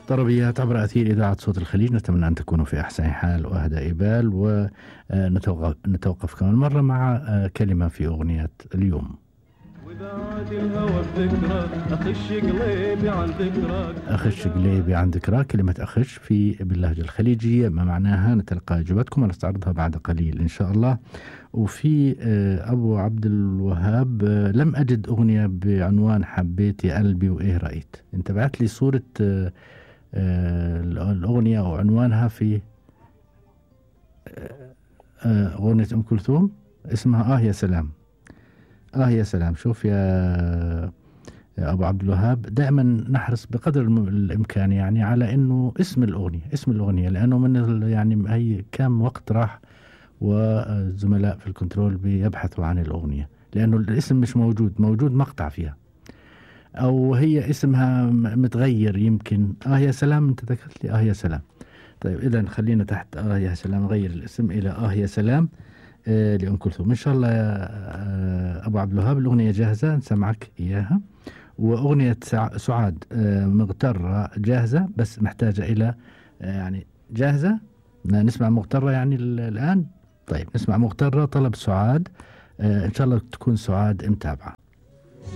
طربيات عبر أثير إذاعة صوت الخليج، نتمنى أن تكونوا في أحسن حال وأهدى إبال، ونتوقف كمان مرة مع كلمة في أغنية اليوم. وبعد الهوى بذكرك أخش قليبي عن ذكرك، أخش قليبي عن ذكراك. كلمة أخش في باللهجة الخليجية ما معناها؟ نتلقى إجابتكم ونستعرضها بعد قليل إن شاء الله. وفي أبو عبد الوهاب، لم أجد أغنية بعنوان حبيت يا قلبي وإيه رأيت. أنت بعت لي صورة الأغنية أو عنوانها في أغنية أم كلثوم، اسمها يا سلام. يا سلام. شوف يا أبو عبد الوهاب، دائما نحرص بقدر الإمكان يعني على إنه اسم الأغنية، لأنه من يعني هي كم وقت راح والزملاء في الكنترول بيبحثوا عن الأغنية، لأنه الاسم مش موجود مقطع فيها، أو هي اسمها متغير يمكن. يا سلام. أنت ذكرت لي يا سلام. طيب إذا خلينا تحت يا سلام نغير الاسم إلى يا سلام لأم كلثوم إن شاء الله. يا أبو عبد الوهاب الأغنية جاهزة نسمعك إياها، وأغنية سعاد مغترة جاهزة، بس محتاجة إلى يعني جاهزة. نسمع مغترة يعني الآن. طيب نسمع مغترة، طلب سعاد. إن شاء الله تكون سعاد متابعة.